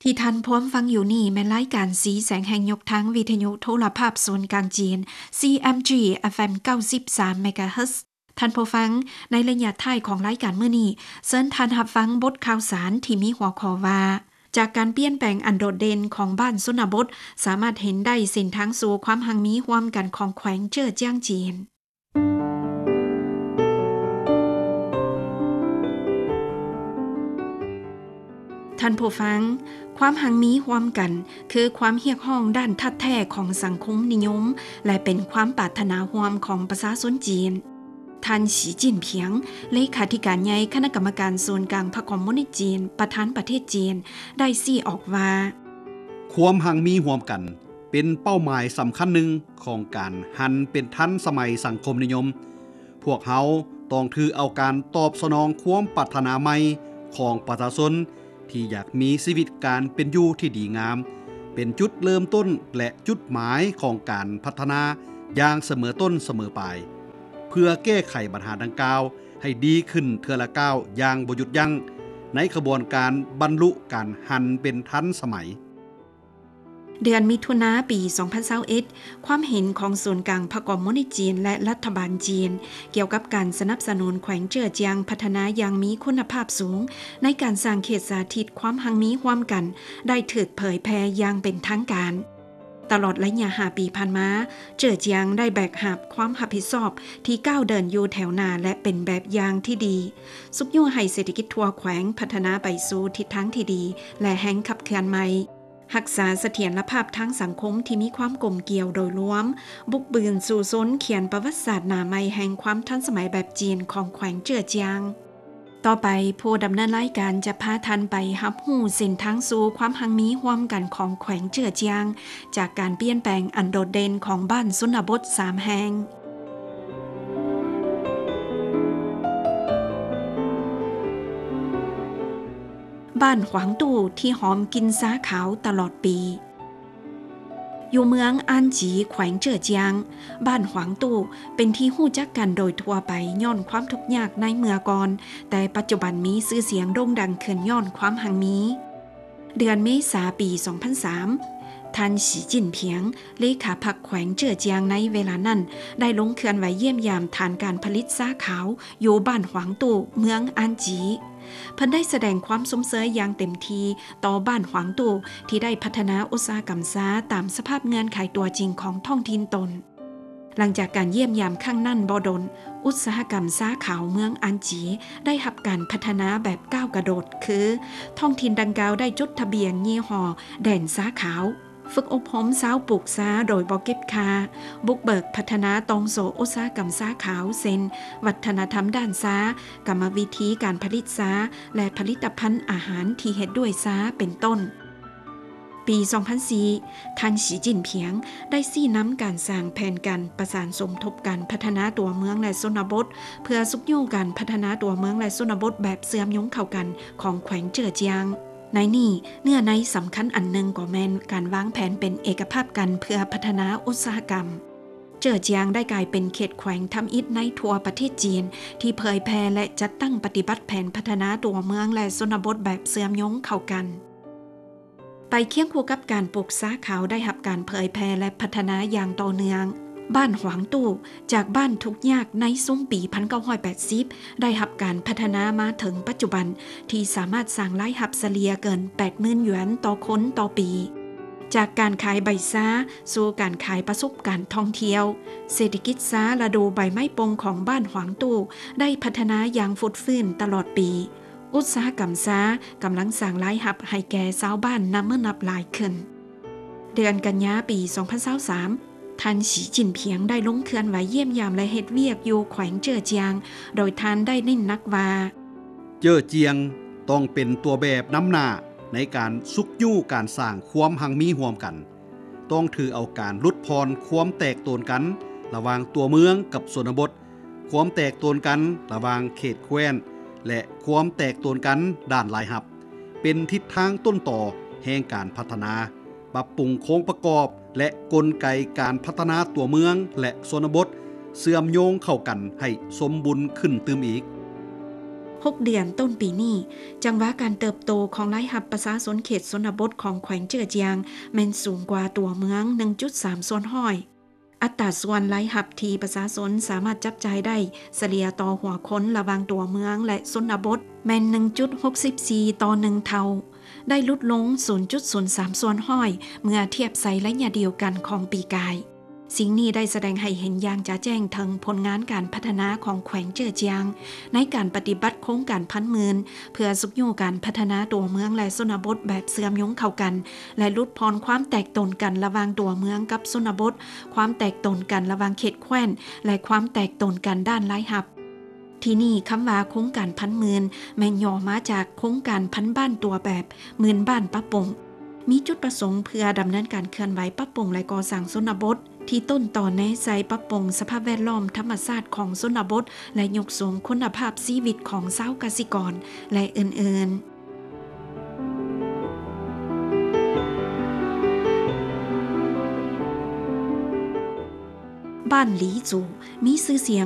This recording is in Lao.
ທີ່ທ່ານພວມຟັງຢູ່ນີ້ແມ່ນລາຍການສີແສງແຫ່ງຍົກທາງ ວິທະຍຸໂທລະພາບສູນກາງຈີນ CMG FM ເກົ້າສິບສາມ MHz. ທ່ານຜູ້ຟັງ, ໃນໄລຍະທ້າຍຂອງລາຍການມື້ນີ້, ເຊີນທ່ານຮັບຟັງບົດຂ່າວສານທີ່ມີຫົວຂໍ້ວ່າ ຈາກການປ່ຽນແປງອັນໂດດເດັ່ນຂອງບ້ານຊົນນະບົດ ສາມາດເຫັນໄດ້ເສັ້ນທາງສູ່ຄວາມຮັ່ງມີຮ່ວມກັນຂອງແຂວງເຈີອຈຽງຈີນ. ທ່ານຜູ້ຟັງ, ຄວາມຮັ່ງມີຮ່ວມກັນ ຄືຄວາມຮຽກຮ້ອງດ້ານທາດແທ້ຂອງສັງຄົມນິຍົມ ແລະ ເປັນຄວາມປາດຖະໜາຮ່ວມຂອງປະຊາຊົນຈີນ. ທ່ານ ສີຈິ້ນຜິງ ເລຂາທິການໃຫຍ່ຄະນະກຳມະການສູນກາງພັກຄອມມູນິດຈີນ ປະທານປະເທດຈີນ ໄດ້ຊີ້ອອກວ່າ ຄວາມຮັ່ງມີຮ່ວມກັນ ເປັນເປົ້າໝາຍສຳຄັນໜຶ່ງຂອງການຫັນເປັນທັນສະໄໝສັງຄົມນິຍົມ. ພວກເຮົາຕ້ອງຖືເອົາການຕອບສະໜອງຄວາມປາດຖະໜາໃໝ່ຂອງປະຊາຊົນທີ່ຢາກມີຊີວິດການເປັນຢູ່ທີ່ດີງາມ ເປັນຈຸດເລີ່ມຕົ້ນ ແລະ ຈຸດໝາຍຂອງການພັດທະນາຢ່າງສະເໝີຕົ້ນສະເໝີປາຍ ເພື່ອແກ້ໄຂບັນຫາດັ່ງກ່າວໃຫ້ດີຂຶ້ນເທື່ອລະກ້າວຢ່າງບໍ່ຢຸດຢັ້ງ ໃນຂະບວນການບັນລຸການຫັນເປັນທັນສະໄໝ. ເດືອນມິຖຸນາປີສອງພັນຊາວເອັດ ຄວາມເຫັນຂອງສູນກາງພັກຄອມມູນິດຈີນ ແລະ ລັດຖະບານຈີນ ກ່ຽວກັບການສະໜັບສະໜູນແຂວງເຈີອຈຽງພັດທະນາຢ່າງມີຄຸນນະພາບສູງ ໃນການສ້າງເຂດສາທິດຄວາມຮັ່ງມີຮ່ວມກັນ ໄດ້ຖືກເຜີຍແຜ່ຢ່າງເປັນທາງການ. ຕະຫຼອດໄລຍະຫ້າປີຜ່ານມາ, ເຈີອຈຽງໄດ້ແບກຫາບຄວາມຮັບຜິດຊອບທີ່ກ້າວເດີນຢູ່ແຖວໜ້າ ແລະ ເປັນແບບຢ່າງທີ່ດີ, ຊຸກຍູ້ໃຫ້ເສດຖະກິດທົ່ວແຂວງພັດທະນາໄປສູ່ທິດທາງທີ່ດີ ແລະ ແຮງຂັບເຄື່ອນໃໝ່. ຮັກສາສະຖຽນລະພາບທາງສັງຄົມທີ່ມີຄວາມກົມກຽວໂດຍລວມ, ບຸກບືນສູ້ຊົນຂຽນປະຫວັດສາດໜ້າໃໝ່ແຫ່ງຄວາມທັນສະໄໝແບບຈີນຂອງແຂວງເຈີອຈຽງ. ຕໍ່ໄປ, ຜູ້ດຳເນີນລາຍການຈະພາທ່ານໄປຮັບຮູ້ເສັ້ນທາງສູ່ຄວາມຮັ່ງມີຮ່ວມກັນຂອງແຂວງເຈີອຈຽງ ຈາກການປ່ຽນແປງອັນໂດດເດັ່ນຂອງບ້ານຊົນນະບົດສາມແຫ່ງ. ບ້ານຫວາງຕູ້ທີ່ຫອມກິ່ນຊາຂາວຕະຫຼອດປີ. ຢູ່ເມືອງອານຈີ ແຂວງເຈີອຈຽງ, ບ້ານຫວາງຕູ້ເປັນທີ່ຮູ້ຈັກກັນໂດຍທົ່ວໄປຍ້ອນຄວາມທຸກຍາກໃນເມື່ອກ່ອນ, ແຕ່ປັດຈຸບັນມີຊື່ສຽງໂດ່ງດັງຂຶ້ນຍ້ອນຄວາມຮັ່ງມີ. ເດືອນເມສາປີສອງພັນສາມ, ທ່ານ ສີຈິ້ນຜິງ ເລຂາພັກແຂວງເຈີອຈຽງໃນເວລານັ້ນ ໄດ້ລົງເຄື່ອນໄຫວຢ້ຽມຢາມຖານການຜະລິດຊາຂາວຢູ່ບ້ານຫວາງຕູ້ ເມືອງອານຈີ. ເພິ່ນໄດ້ສະແດງຄວາມຊົມເຊີຍຢ່າງເຕັມທີ່ຕໍ່ບ້ານຫວາງຕູ້ ທີ່ໄດ້ພັດທະນາອຸດສາຫະກຳຊາຕາມສະພາບເງື່ອນໄຂຕົວຈິງຂອງທ້ອງຖິ່ນຕົນ. ຫຼັງຈາກການຢ້ຽມຢາມຄັ້ງນັ້ນບໍ່ດົນ, ອຸດສາຫະກຳຊາຂາວເມືອງອານຈີໄດ້ຮັບການພັດທະນາແບບກ້າວກະໂດດ, ຄື ທ້ອງຖິ່ນດັ່ງກ່າວໄດ້ຈົດທະບຽນຍີ່ຫໍ້ແດນຊາຂາວ, ຝຶກອົບຮົມຊາວປູກຊາໂດຍບໍ່ເກັບຄ່າ, ບຸກເບີກພັດທະນາຕ່ອງໂສ້ອຸດສາຫະກຳຊາຂາວ ເຊັ່ນ ວັດທະນະທຳດ້ານຊາ, ກຳມະວິທີການຜະລິດຊາ ແລະ ຜະລິດຕະພັນອາຫານທີ່ເຮັດດ້ວຍຊາ ເປັນຕົ້ນ. ປີສອງພັນສີ່ ທ່ານ ສີຈິ້ນຜິງ ໄດ້ຊີ້ນຳການສ້າງແຜນການປະສານສົມທົບການພັດທະນາຕົວເມືອງ ແລະ ຊົນນະບົດ ເພື່ອຊຸກຍູ້ການພັດທະນາຕົວເມືອງ ແລະ ຊົນນະບົດແບບເຊື່ອມໂຍງເຂົ້າກັນຂອງແຂວງເຈີອຈຽງ. ໃນນີ້ ເນື້ອໃນສຳຄັນອັນໜຶ່ງກໍແມ່ນການວາງແຜນເປັນເອກະພາບກັນເພື່ອພັດທະນາອຸດສາຫະກຳ. ເຈີອຈຽງໄດ້ກາຍເປັນເຂດແຂວງທຳອິດໃນທົ່ວປະເທດຈີນ ທີ່ເຜີຍແຜ່ ແລະ ຈັດຕັ້ງປະຕິບັດແຜນພັດທະນາຕົວເມືອງ ແລະ ຊົນນະບົດແບບເຊື່ອມໂຍງເຂົ້າກັນ. ໄປຄຽງຄູ່ກັບການປູກຊາຂາວໄດ້ຮັບການເຜີຍແຜ່ ແລະ ພັດທະນາຢ່າງຕໍ່ເນື່ອງ. ບ້ານຫວາງຕູ້ ຈາກບ້ານທຸກຍາກໃນຊຸມປີພັນເກົ້າຮ້ອຍແປດສິບ ໄດ້ຮັບການພັດທະນາມາເຖິງປັດຈຸບັນ ທີ່ສາມາດສ້າງລາຍຮັບສະເລ່ຍເກີນແປດໝື່ນຢວນຕໍ່ຄົນຕໍ່ປີ. ຈາກການຂາຍໃບຊາສູ່ການຂາຍປະສົບການທ່ອງທ່ຽວ, ເສດຖະກິດຊາລະດູໃບໄມ້ປົ່ງຂອງບ້ານຫວາງຕູ້ໄດ້ພັດທະນາຢ່າງຟົດຟື້ນຕະຫຼອດປີ. ອຸດສາຫະກຳຊາກຳລັງສ້າງລາຍຮັບໃຫ້ແກ່ຊາວບ້ານນັບມື້ນັບຫຼາຍຂຶ້ນ. ເດືອນກັນຍາປີສອງພັນຊາວສາມ ທ່ານ ສີຈິ້ນຜິງ ໄດ້ລົງເຄື່ອນໄຫວຢ້ຽມຢາມ ແລະ ເຮັດວຽກຢູ່ແຂວງເຈີອຈຽງ, ໂດຍທ່ານໄດ້ເນັ້ນໜັກວ່າ ເຈີອຈຽງຕ້ອງເປັນຕົວແບບນຳໜ້າໃນການຊຸກຍູ້ການສ້າງຄວາມຮັ່ງມີຮ່ວມກັນ, ຕ້ອງຖືເອົາການຫຼຸດຜ່ອນຄວາມແຕກໂຕນກັນລະຫວ່າງຕົວເມືອງກັບຊົນນະບົດ, ຄວາມແຕກໂຕນກັນລະຫວ່າງເຂດແຄວ້ນ ແລະ ຄວາມແຕກໂຕນກັນດ້ານລາຍຮັບ ເປັນທິດທາງຕົ້ນຕໍແຫ່ງການພັດທະນາ, ປັບປຸງໂຄງປະກອບ ແລະ ກົນໄກການພັດທະນາຕົວເມືອງ ແລະ ຊົນນະບົດ ເຊື່ອມໂຍງເຂົ້າກັນໃຫ້ສົມບູນຂຶ້ນຕື່ມອີກ. ຫົກເດືອນຕົ້ນປີນີ້, ຈັງຫວະການເຕີບໂຕຂອງລາຍຮັບປະຊາຊົນເຂດຊົນນະບົດຂອງແຂວງເຈີອຈຽງ ແມ່ນສູງກວ່າຕົວເມືອງ ໜຶ່ງຈຸດສາມສ່ວນຮ້ອຍ. ອັດຕາສ່ວນລາຍຮັບທີ່ປະຊາຊົນສາມາດຈັບຈ່າຍໄດ້ສະເລ່ຍຕໍ່ຫົວຄົນລະຫວ່າງຕົວເມືອງ ແລະ ຊົນນະບົດ ແມ່ນ ໜຶ່ງຈຸດຫົກສິບສີ່ຕໍ່ໜຶ່ງເທົ່າ, ໄດ້ຫຼຸດລົງ ສູນຈຸດສູນສາມສ່ວນຮ້ອຍ ເມື່ອທຽບໃສ່ໄລຍະດຽວກັນຂອງປີກາຍ. ສິ່ງນີ້ໄດ້ສະແດງໃຫ້ເຫັນຢ່າງຈະແຈ້ງເຖິງຜົນງານການພັດທະນາຂອງແຂວງເຈີອຈຽງ ໃນການປະຕິບັດໂຄງການພັນໝື່ນ ເພື່ອຊຸກຍູ້ການພັດທະນາຕົວເມືອງ ແລະ ຊົນນະບົດແບບເຊື່ອມໂຍງເຂົ້າກັນ ແລະ ຫຼຸດຜ່ອນຄວາມແຕກຕົນກັນລະຫວ່າງຕົວເມືອງກັບຊົນນະບົດ, ຄວາມແຕກຕົນກັນລະຫວ່າງເຂດແຄວ້ນ ແລະ ຄວາມແຕກຕົນກັນດ້ານລາຍຮັບ. ທີ່ນີ້, ຄຳວ່າໂຄງການພັນໝື່ນ ແມ່ນຫຍໍ້ມາຈາກໂຄງການພັນບ້ານຕົວແບບ ໝື່ນບ້ານປັບປຸງ. ມີຈຸດປະສົງເພື່ອດຳເນີນການເຄື່ອນໄຫວປັບປຸງ ແລະ ກໍ່ສ້າງຊົນນະບົດ ທີ່ຕົ້ນຕໍແນໃສ່ປັບປຸງສະພາບແວດລ້ອມທຳມະຊາດຂອງຊົນນະບົດ ແລະ ຍົກສູງຄຸນນະພາບຊີວິດຂອງຊາວກະສິກອນ ແລະ ອື່ນໆ. ບ້ານຫຼີຈູ ມີຊື່ສຽງ